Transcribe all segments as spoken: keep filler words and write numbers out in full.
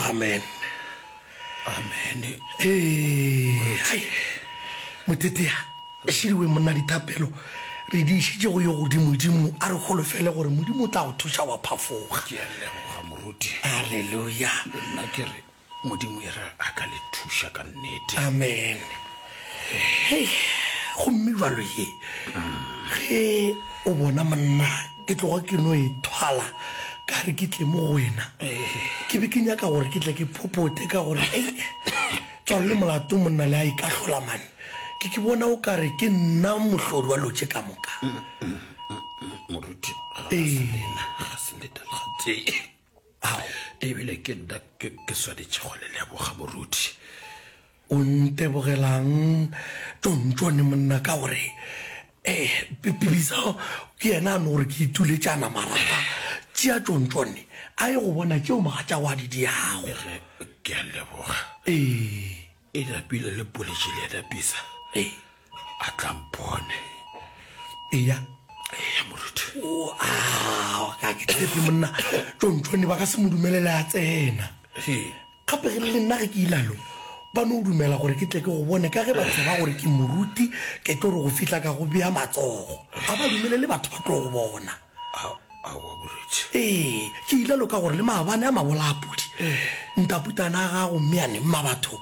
Amen. Amen. Ee, hai, Motetea, šidiwe monna dithapelo re di išitše go yo godimodimo, a re holofele gore Modimo o tla go thuša wa phafoga. Ke a leboga moruti. Alleluia. Le nna ke re Modimo e re a ka le thuša ka nnete. Amen. Hei, gomme jwalo ye, ge o bona monna ke tloga ke no e thwala ka re ke tle mo go wena, ke be ke nyaka gore ke tle ke phophote ka gore, ei, tswalo le molato monna le a ikahlola mane. Ke ke bona o ka re ke nna mohlodi wa lo tše ka moka. Moruti, ga se lena, ga se lena le gatee. Ao, ebile ke nna ke, ke swanetše go le leboga moruti. O ntebogelang tšontšone monna ka gore eh Pipisa ke yena a no gore ke ituletšana marata. Tšea tšontšone a ye go bona tšeo mogatšago a di diago. Ge ke a leboga. Ee. E napile le poletše le yena Pisa. Ee. A tla mpone. Eya. Eya moruti. O a ka ke tshepe monna tšontšone ba ka se mo dumelele a tsena. Ee. Gape ge le nna ge ke ilalo, ba no dumela gore ke tle ke go bone ka ge ba tseba gore ke moruti, ke tlo re go fihla ka go bea matsogo. Ga ba dumelele batho ba tlo go bona. Aowa moruti. Ee, ke ilalo ka gore le maabane a mabola a pudi, ntaputana a gago mmeane mmabatho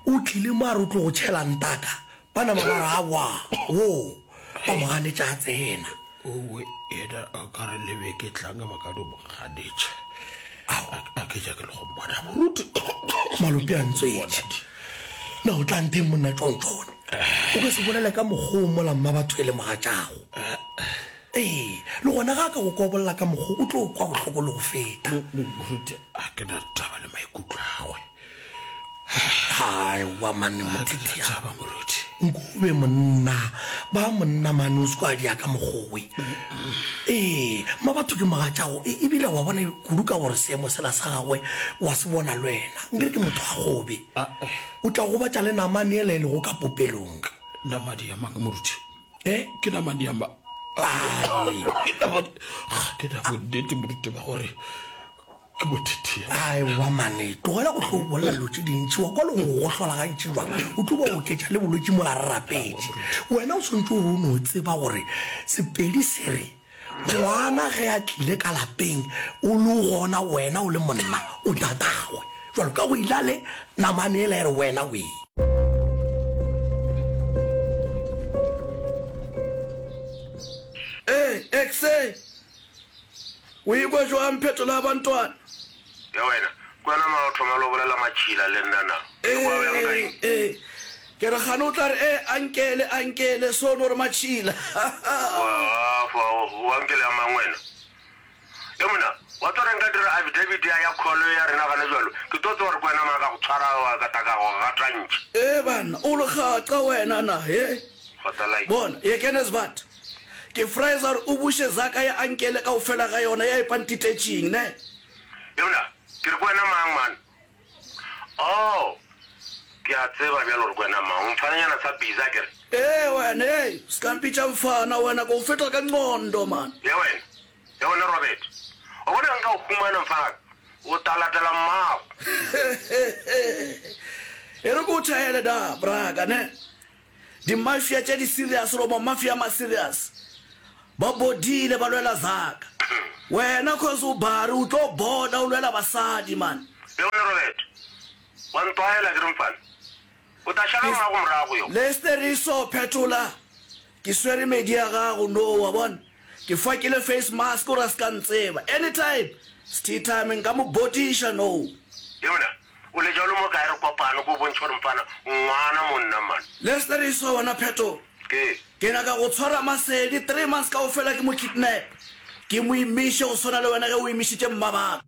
o tlile mo a re o tlo go tšhela ntaka, ba nama ba re aowa, wo, ba mo ganetša a tsena. Owe, yena a ka re le be ke tlang ba ka no mo ganetša. Ao, a ke nyake le go mmona moruti. Malope a ntswetše. Na o tla ntheng monna tšontšone? O ka se bolele ka mokgwa o mola mmabatho e le mogatšago. Ee, le gona ga a ka go kobolla ka mokgwa o tlo kwa bohloko le go feta. Moruti, a ke na taba le maikutlo a gagwe. Aowa mane Ga ke na mothethiana. taba moruti. Nkobe monna, ba monna mane o se kwa dia ka mokgowe. Ee, mmabatho ke mogatšago e, ebile wa bona kudu ka gore seemo sela sa gagwe wa se bona le wena. Nkere ke motho wa kgobe. O tla gobatša le namane yela e lego ka popelong. Namane ya mang moruti? E? Ke namane ya mang? Ai. Ke namane, ga ke na bonnete moruti ba gore Ke bothethea. Aewa mane, tlogela go hlo bolela dilo tše dintši, wa kwa le go go gohlola gantši jwang, o tlo ba oketša le bolwetši mola re rapetše. Wena o swanetše gore o no tseba gore Sepedi se re, ngwana ge a tlile ka lapeng o le gona wena o le monna o tatagwe. Jwalo ka go ilale namane yela e re wena wee. Ee, Ekse! O ikwa jwang phetola ya bantwana? Ya wena, ke wena mang o thoma le go bolela matšhila le nna na? O ikwa bjang ka eng? Ee, ee. Ke re kgane o tla re, Ee, ankele, ankele, so no re matšhila. Wa, wa, o ankele ya mang wena? E monna, wa tseba gore nka dira affidavit ya, ya call ya rena gana bjalo, ke tlo tseba gore ke wena mang ka go tshwara wa ka ta ka go gatantšha. Ee banna, o legaqa wena na, he? Kgotsa like. Bona, ye kene svat. Ke Fraser o buše zaka ya ankele kaofela ga yona ya e pantitetšing, ne? Yona, ke re ke wena mang, man? Oh, ke a tseba bjalo gore ke wena mang. O mfananyana sa busy, a ke re? Ee, wena, hei, se ka mpitša mfana, wena, ke go feta ka nqondo, man. Ya wena, ya wena, Robert. Wa bona ge nka go humana, mfanaka, o ta latela mmago. E re ke o thaele da, braka, ne? Di mafia tše di serious goba mafia a ma serious ba bodile ba lwela zaka. Wena cause o bare o tlo boda o lwela basadi man. Leone Robert, wa ntwaela ke re mfana. O ta šala mmago morago yo. Lesteriso phetola ke swere medi ya gago no wa bona ke fakile face mask gore a ska ntseba anytime sti time nka mo bodiša no. Yona O letša o le mo kae re kopane ko bontšhe gore mfana ngwana monna man. Lester Esau wena Pheto. Ke. Ke nyaka go tshwara Masedi three months kaofela ke mo kidnap ke mo imiše go swana le wena ge o imišitše mmabaka.